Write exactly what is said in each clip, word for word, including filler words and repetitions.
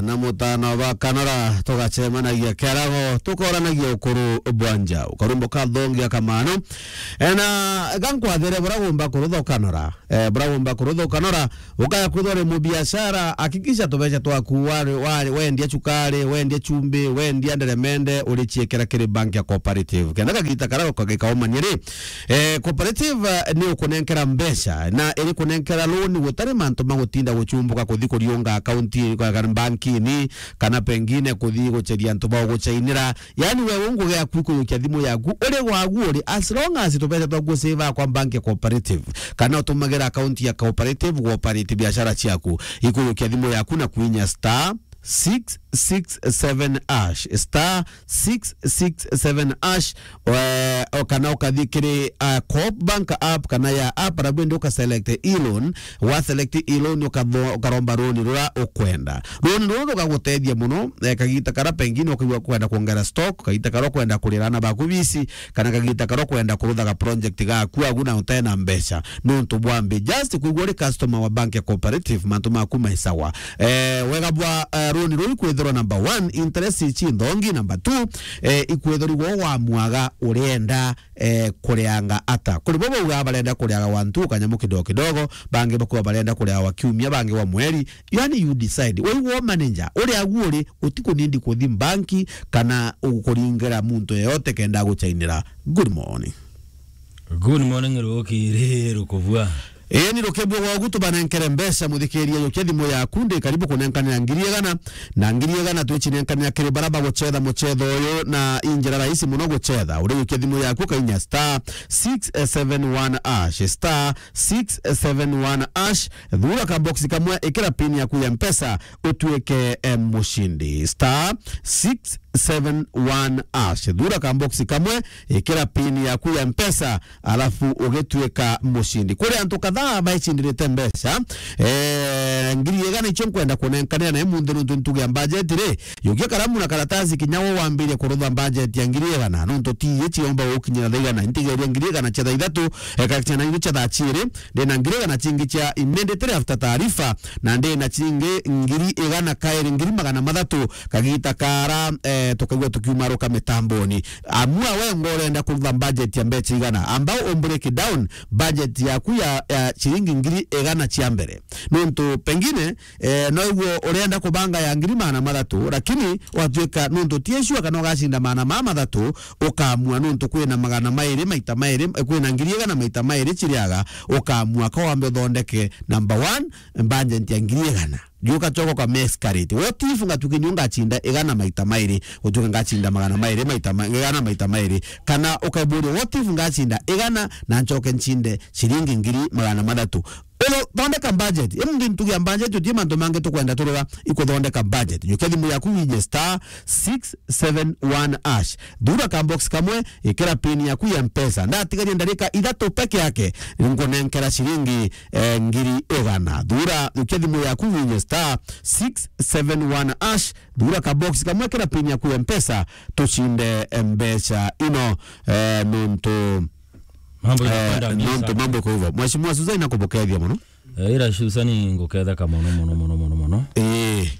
na mutano ba kanora, tugacemanagia kiarago, tukoranagia ukuru bwa njau. Karumbo ka thongia kamano. E, na gankwathire bura gumba kurutha kanora. E, bura gumba kurutha kanora, ukaya kwithwa uri mubiashara, hakikisha tubeca twaku wari, wari, wendia chukari, wendia chumbi, wendia nderemende, urichiekera kiri bank ya Cooperative. Kenda kagita kara ukagikaumania ri, e, Cooperative, e, ni ukunenkera mbeca, na iri kunenkera loan gutari mantu ma gutinda guchumbuka kuthi kuriunga account, kwa, kana bankini, kana pengine kuthi gucheria antu ba guchainira. Yani, we ungu giaku ikuyukia thimu yaku, uri gwagu uri, as long as tubeca twaku save kwa bank ya Cooperative, kana utumagira account ya Cooperative gwa operate biashara ciaku, ikuyukia thimu yaku na kuinya star six six seven hash, star six six seven hash, eh, o kana ukathi kiri, ah, Coop Bank app kana ya app, arabu ndi uka select e-loan, wa select e-loan ukatho-, ukaromba loan rura ukwenda. Loan ruru rukagutethia muno, eh, kagita kara pengine ukaigua kwenda kuongera stock, kagita kara ukwenda kurira ana baku bisi, kana kagita kara ukwenda kuruthaga project gaku agu na utena mbeca. Nontu bwa mbi, just kwigua uri customer wa bank ya Cooperative, mantu maku mai sawa. Eh, wega bwa, eh, loan ruru ikwithirwa number one, interest ici nthongi, number two, eh, ikwithirwa wa mwaga urienda, eh, kurianga ata. Kuri bo bauga barenda kuriaga wa ntu kanyamu kidogo kidogo, bangi bakuwa barenda kuriaga wa kiumia, bangi wa mweri. Yani, you decide. Waiwa manager, uri agu uri, utikunindi kuthi banki kana ukuringira muntu yeyote kenda aguchainira. Good morning. Good morning, rukiri rukubua. Ii, ni rukibua gwaku tubanenkere mbeca, muthikiria, yukia thimu yaku, ndi karibu kunenkanira ngiri igana, na ngiri igana twichinenkanira kiri bara bagucetha mucetho uyu, na i njira rahisi muno gucetha. Uri yukia thimu yaku, kainya star six seven one hash, star six seven one hash, thura ka box kamwe, ikira pin yaku ya Mpesa, utuike, eh, mushindi. Star six seven one hash. Thura ka box kamwe, ikira pin yaku ya Mpesa, alafu ugituika mushindi. Kuri antu kadhaa baichindirite mbeca, eh, ngiri igana icio nkwenda kunenkanira na imunthi nuntu ntuge ya budget ri, yukia karamu na karatasi kinya wo wambirie kurutha budget ya ngiri igana, nuntu ti ici yomba gukinyira thaa igana. Ntigeria ngiri igana cia thaa ithatu, eh, kana cia thaa ciiri, ndina ngiri igana cingi cia immediately after taarifa, na ndina cingi ngiri igana kairi, ngiri magana mathatu, kagita kara, eh, tukaigua tukiumaruka mitamboni. Amua we ngo urenda kurutha budget ya mbeca igana, amba u break down budget yaku ya, ya ciringi ngiri igana cia mbere. Nontu pengine, eh, no iguo urenda kubanga ya ngiri magana mathatu, lakini watuika nontu ti sure kana ugacinda magana ma mathatu, ukamua nontu kwina magana mairi maita mairi, eh, kwina ngiri igana maita mairi ciriaga, ukamua ka wambe uthondeke number one, budget ya ngiri igana. Juka choko ka mescarate. What if ngatuke nyu ngacinda igana maita mairi, utuke ngacinda magana mairi maita ma-, igana maita mairi? Kana ukaiburia, what if ngacinda igana na nchoke ncinde ciringi ngiri magana mathatu? Ulo thondeka budget. Imunthi ntuge ya budget, utie mantu mangi tukwenda turora, ikuthondeka budget. Jukia thimu yaku winye star six seven one hash. Thura ka box kamwe, ikira pin yaku ya Mpesa. Ndatigaria ndarika ithatu peke yake, nkunenkera ciringi, eh, ngiri igana. Thura, jukia thimu yaku winye star six seven one hash. Thura ka box kamwe, ikira pin yaku ya Mpesa, tucinde, eh, mbeca ino, eh, nontu, mambo eh, inakwenda misa. Nontu mambo iko hivyo. Mheshimiwa Susan, nakubukethia muno. Eh, ira Susan nguketheka mono, mono, mono, mono, mono. Eh.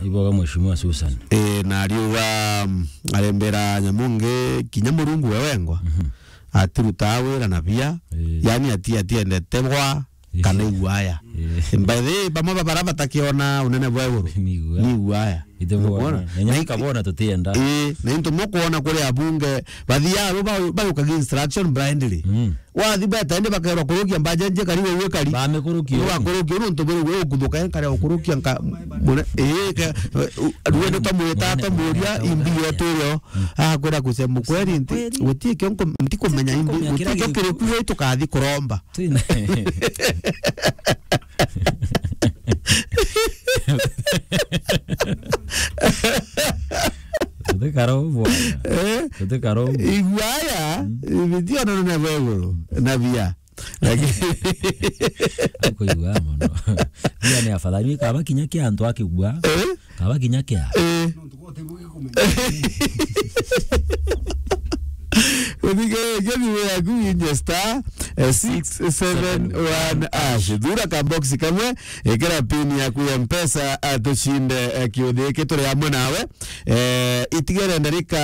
Iboga Mheshimiwa Susan. Eh, na ariuga, mm, arembera nyamungi kinya Murungu we wengwa. Mhm. Atirutaa wira na bia. Eh. Yani ati-, atiendete bwa, eh, kana iguaya. Eh. By the way, bamwe ba bara batakiona unene bwa iguru. Ni iguaya. Ni iguaya. Ithe bona. Nukwona? Na inya kabona tutienda. Eh, na into mukwona kuri abunge, bathiaga ru ba-, bayukaga instruction blindly. Mm. Wathi beta indi bakerwa kurukia budget nje kari wewe kari. Bamikurukia. Ni wakurukia nontu buri wewe ukuthuka nkare ukurukia nka mune, eh, ke, ruende tamwita tamuria imbi yetu rio. Mm. Akwira kusema kweri nti, kweri. Guti kio nko-, ntikumenya imbi, guti kio kiri kuwe tukathi kuromba. Twina. Tutikara uguo bwana. Eh? Tutikara uguo. Iguaya, mm, ibiti ona na bweguru, na bia. Lakini kuigua mono. Bia ni afadhali. Kaba kinya kia antu akigua. Eh? Kaba kinya kia. Eh. Uthige, uthige thimu yaku winye star, eh, six seven one hash. Thura ka box kamwe, ikira pin yaku ya Mpesa, eh, tucinde, eh, kiuthi giki turi amwe nawe. Eh, itigere ndarika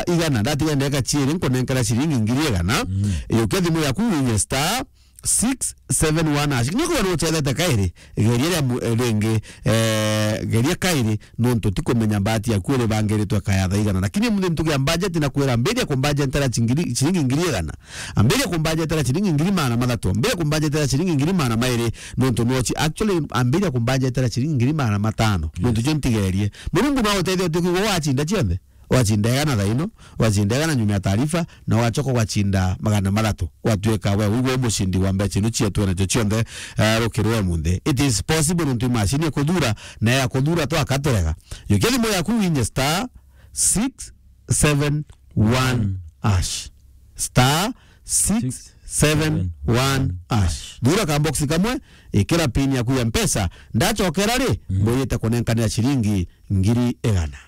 igana, ndatigere ndarika ciiri, nkunenkera ciringi ngiri igana. Mm. Yukia thimu yaku winye star six seven one hash. Kinya kwona uchethete kairi, geria ria mu-, eh, ringi, eh, geria kairi, nontu tikumenya mbati yaku iribangiritwe kayatha igana. Lakini muthi ntugia budget na kwira, ambiria kumbudgetera chingiri-, chiringi ngiri igana. Ambiria kumbudgetera chiringi ngiri magana mathatu. Ambiria kumbudgetera chiringi ngiri magana mairi, nontu nochi. Actually, ambiria kumbudgetera chiringi ngiri magana matano. Yes. Nontu cio ntigerie. Murungu no uteithie utuku wachinda cionthe. Wacinda igana thaa ino, wacinda igana nyuma ya taarifa, na wacoka wacinda magana mathatu, watuika we wigwe mucindi wa mbeca ino cietu nacio cionthe, eh, rukiri rwa munthi. It is possible nontu imashini ya kuthura, na ya kuthura twaka turega. Yukia thimu yaku winye star six seven one hash. Star six seven one hash. Thura ka box kamwe, ikira pin yaku ya Mpesa, ndacokera ri, mm, mbuyite kunenkanira ciringi ngiri igana.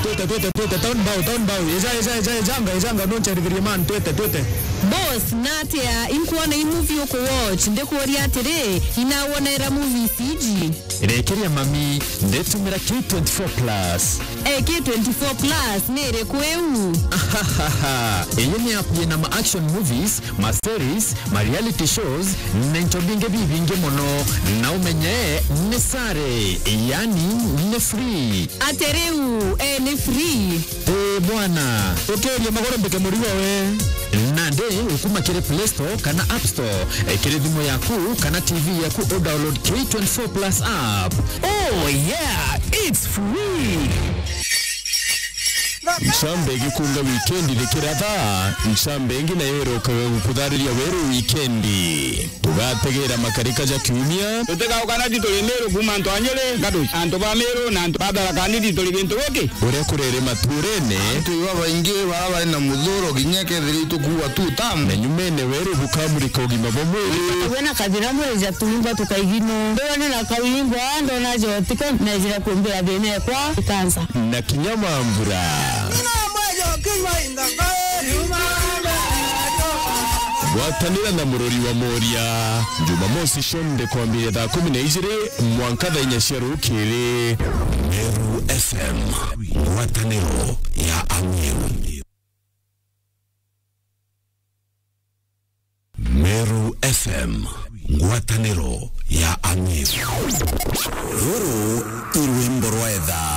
Twite, twite, twite, town bow, town bow. Eja, eja, eja, ejanga, ejanga, noncherithirie man, twite, twite. Boss, natia, inkwona i movie uku watch, ndikuria atiri, inawonera movies iji? Rekeria mami, ndetumira K twenty-four plus. Eh, K twenty-four plus, ni iriku iu? Ahahaha, iyi ni app yina ma action movies, ma series, ma reality shows, na into bingi bibingi mono, na umenye ni sare, yani ni free. Ati riu, eh, ni free? Eh, bwana, ukiria maguru mbike murigo we. Nandi ukuma kiri Play Store kana App Store, eh, kiri thimu yaku kana T V yaku, u download K twenty-four plus app. Oh yeah, it's free. Ncambe igikunga wikendi rikiratha, ncambe ingi nayo irokaga gukuthariria weru wikendi. Tugategera makarika ja kiumia. Tutigauka na tituri Miru kuuma antu a Nyeri, Ngatuchi, antu ba Miru na antu ba Tharaka Nithi turi gintu giki. Uria kurere maturene. Antu iba baingi bara bari na muthuro kinya kethira itukuua tu tamu. Na nyumene weru bukamurika ugima bwa mwiri. Wena kathira mwiri ja turingwa tukaigino. Ndiwone na kauringwa, ndona jotiko, nejira kumbira thina ekwa ikansa. Na kinya mambura. Ngwatanira na murori wa Moria. Jumamosi cionthe kwambiria thaa kumi na ijiri mwanka thaa inya cia rukiri. Meru F M, ngwataniro ya Ameru. Meru F M, ngwataniro ya Ameru. Ruru i rwimbo rwa etha.